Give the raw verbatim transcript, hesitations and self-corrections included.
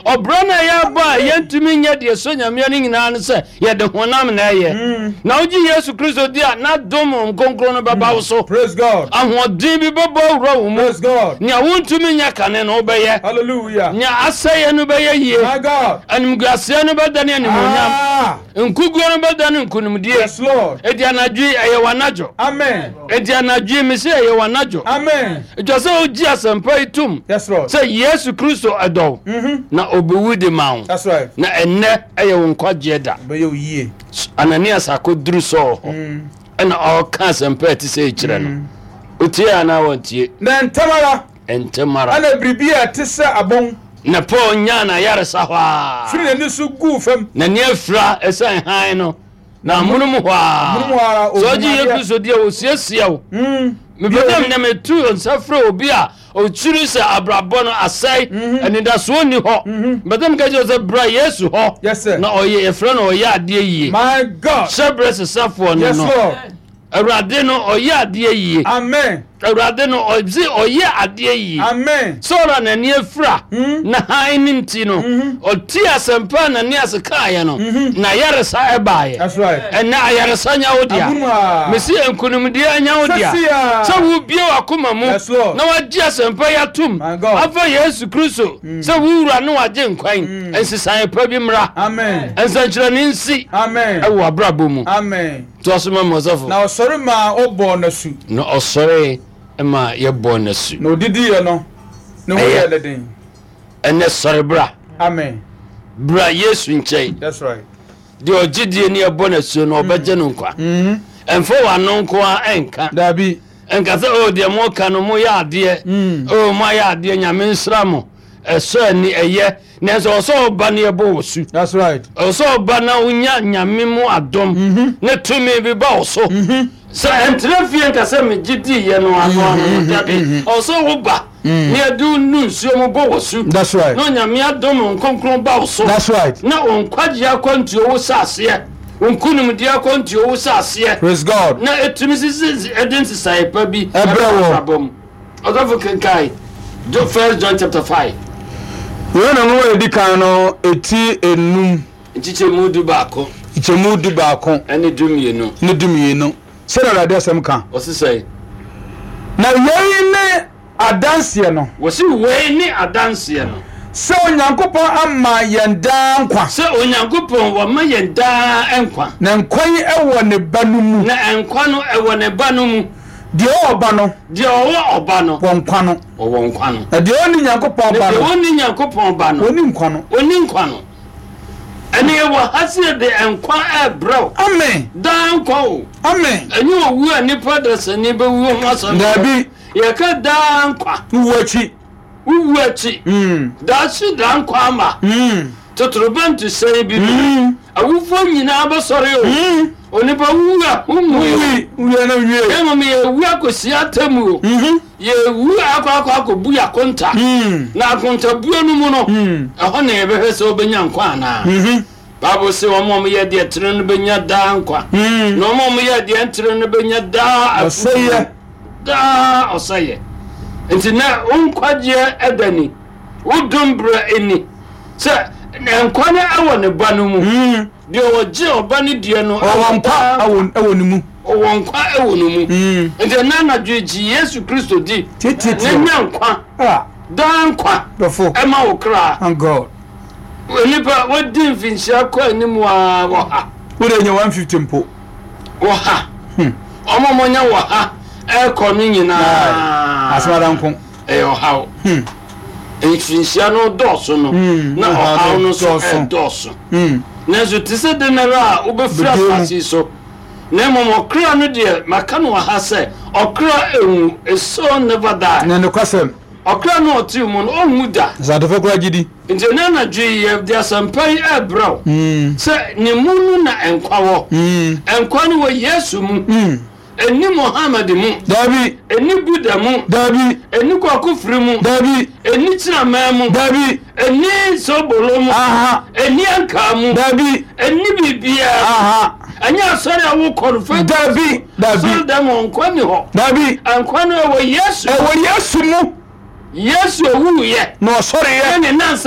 Ɔbrɛ no a yɛabɔ a yɛntumi nyɛ deɛ so Nyameɛ no nyinaa no sɛ yɛde honam na ɛyɛ. Na wogye Yesu Kristo di a, n'adom Nkronkron no bɛba wo so. Praise God. Ahoɔden bi bɛbɔ awura wo mu. Praise God. Nea wontumi nyɛ kane no, wobɛyɛ. Hallelujah. Nea asɛeɛ no bɛyɛ yie. My God. Animguaseɛ no bɛdane animuonyam. Ah. Nkuguo no bɛdane nkonimdie. Yes, Lord. Enti anadwo yi, ɛyɛ w'anadwo. Amen. Enti anadwo yi, mese ɛyɛ w'anadwo. Amen. Ɛtwa sɛ wogye asɛmpa yi tom Yes, Lord. sɛ Yesu Kristo ɛdɔ wo na ɔbɛwu de ma wo. That's right. Na ɛnnɛ ɛyɛ wo nkwagyeɛ da. Bɛyɛ wo yie. Ananias akɔduru Saul hɔ ɛna ɔreka asɛmpa a ɛte sɛ ɛkyerɛ no. Wotie anaa wɔntie? Na ntɛm ara, Ntɛm ara. ɛna biribi a ɛte sɛ abɔn Na Paul nyaa n'ayaresa hɔ a, firi n'ani so guu fam. N'ani afira ɛsiane hann no, na amonom hɔ a, Amonom hɔ ara, sɛ ɔgye ohun Yesu adeɛ. Kristo di a, wɔsiesie wo. Mm. Mepɛ sɛ nnɛ metu nsa frɛ obi a ɔkyiri sɛ abrabɔ no asɛe, anidasoɔ nni hɔ. Mepɛ sɛ meka kyerɛ wo sɛ bra Yesu hɔ. Yes, sir. Na ɔyɛ, yɛfrɛ no ɔyɛ adeɛ yie. My God. Hyɛ berɛ sesafoɔ no Yes, no. Lord. Awurade no ɔyɛ adeɛ yie. Amen. Awurade no ɔgye ɔyɛ adeɛ yie. Amen. Sɔɔl a n'ani afira na hann no nti no, ɔtee asɛmpa a Ananias kaeɛ no, na ayaresa ɛbaeɛ. That's right. Ɛnnɛ ayaresa nya wo dea. Amonom a. Mese nkonimdie anya wo dea. Sɛsi a. Sɛ wobue w'akoma mu Yes, Lord. na wagye asɛmpa yi atom My God. afa Yesu Kristo sɛ wo wura ne wagye nkwan, nsesaeɛ pa bi mmra. Amen. Nsɛnkyerɛnne nsi Amen. ɛwɔ abrabɔ mu. Amen. Toa so ma me, ɔsɔfo. Na ɔsɔre maa ɔbɔɔ n'asu. Na ɔsɔre ma yɛbɔɔ n'asu. Na odidiiɛ no, ne ho Ɛyɛ. yɛɛ no den. Ɛnɛ sɔre bra. Amen. Bra Yesu nkyɛn. That's right. Deɛ ɔgye die ne ɛbɔ n'asuo no, ɔbɛgye no nkwa. Ɛmfa w'ano nko a ɛnka. Dabi. Ɛnka sɛ, "O, deɛ moka no, moyɛ adeɛ, o, moayɛ adeɛ, Nyame nsra mo." Ɛsɔ ani, ɛyɛ, nanso ɔwɔ sɛ ɔba ne yɛbɔ wɔ su. That's right. Ɔwɔ sɛ ɔba na wonya Nyame mu adom ne tumi bi ba wo so sɛ ɛntena fie nka sɛ megye diiɛ no ano ano no. Dabi, ɔwɔ sɛ woba ne yɛde wo nu nsuo mu bɔ wɔ su That's right. na Onyame adom Nkonkron ba wo so That's right. na wo nkwagye akwantuo wo hyɛ aseɛ, wo nkonimdie akwantuo wo hyɛ aseɛ Praise God. na ɛtumi sisi ɛde nsesaeɛ pa bi Ɛbrɛ wɔ. Abrabɔ mu. Ɔsɔfo, kenkae First John chapter five. Yohane nwoma a ɛdi kan no, eti enum. Nkyekyɛmu du baako. Nkyɛmu du baako. Ɛne du mmienu. Ne du mmienu. Sɛdeɛ Awurade asɛm ka. Ɔse sɛ, Na yei ne adanseɛ no. Wɔsi wei ne adanseɛ no. Sɛ Onyankopɔn ama yɛn daa nkwa. Sɛ Onyankopɔn wɔma yɛn daa nkwa. Na nkwa yi ɛwɔ ne ba no mu. Na nkwa no ɛwɔ ne ba no mu. Deɛ ɔwɔ ɔba no. Deɛ ɔwɔ ɔba no. Wɔ nkwa no. Ɔwɔ nkwa no. Na deɛ ɔnni Nyankopɔn Na ba deɛ no. ɔnni Nyankopɔn ba no. Ɔnni nkwa no. Ɔnni nkwa no. Ɛne yɛwɔ ha sɛ yɛde nkwa ɛrebrɛ wo. Amen. Daa nkwa o. Amen. Ɛnyɛ owu a nipa dasani bɛwu ho asɛm. Dabi. Yɛka daa nkwa. Wowu akyi. Wowu akyi. Mm. Daakye daa nkwa ama. Mm. Totorobɛnto hyɛn bi no. Mm. Awufoɔ nyinaa bɛsɔre o. Mm. Onipa wu a wowu. Wowi wie na wie. Mmom yɛwu akɔsi atemmuo. Mhm. Yɛwu akɔ akɔ akɔbu yɛ akonta. Mm. Na akontabuo no mu no, Mm. ɛhɔ na yɛbɛhwɛ sɛ wobɛnya nkwa anaa. Mhm. Bible sɛ wɔn a wɔyɛ deɛ tene no bɛnya daa nkwa. Mm. Na wɔn a wɔyɛ deɛ ntene no bɛnya daa Ɔsɛeɛ. Daa ɔsɛeɛ. Nti na wo nkwagyeɛ ɛda ni, wo dom berɛ ni sɛ nkwa no ɛwɔ ne ba no mu. Mm. Deɛ ɔgye ɔba no deɛ no, Ɔwɔ nkwa daa ɛwɔ ɛwɔ ne mu. Ɔwɔ nkwa ɛwɔ no mu. Mm. Nti ɛna anadwo gye Yesu Kristo di Tietietie. na nya nkwa, Ah. daa nkwa Dɔfo. ɛma wo kra. Thank God. Onipa wadi mfinhyia kɔ anim a wɔ ha. Wode nya one fifty mpo. Wɔ ha. Ɔmo a ɔmo wɔ ha ɛkɔ no nyinaa, Asɛm ada nko. Ɛyɛ ɔhaw. Hmm. Mfinhyia no dɔɔso no, Mm, na ɔhaw ɔhaw no no nso dɔɔso. ɛdɔɔso. Mm. Nanso te sɛ de nara a wobɛfiri Bɛdue mu. asase yi so, na mmom ɔkra no deɛ, maka no wɔ ha sɛ ɔkra ewu, a soul never die. Na nokwasɛm. Ɔkra no ɔte mu no, ɔnwu da. Sɛ adɔfo koraa gye di. Nti ɛnɛ anadwo yi yɛde asɛmpa yi ɛrebrɛ wo Mm. sɛ ne mu no na nkwa wɔ. Mm. Nkwa no wɔ Yesu mu. Mm. Ɛni Mohammed mu. Dabi. Ɛni Buddha mu. Dabi. Ɛni Kwakofiri mu. Dabi. Ɛni Kyinaman mu. Dabi. Ɛni Sobolo mu. Aha. Ɛni Ankaa mu. Dabi. Ɛni biribiara. Aha. Ɛnyɛ asɔre a wokɔ no fɛ. Dabi. Dabi. Asɔre dɛm wɔ nkwa ni hɔ. Dabi. Nkwa no ɛwɔ Yesu. Ɛwɔ Yesu mu. Yesu owuiɛ Na ɔsɔreyɛ. ɛne nansa.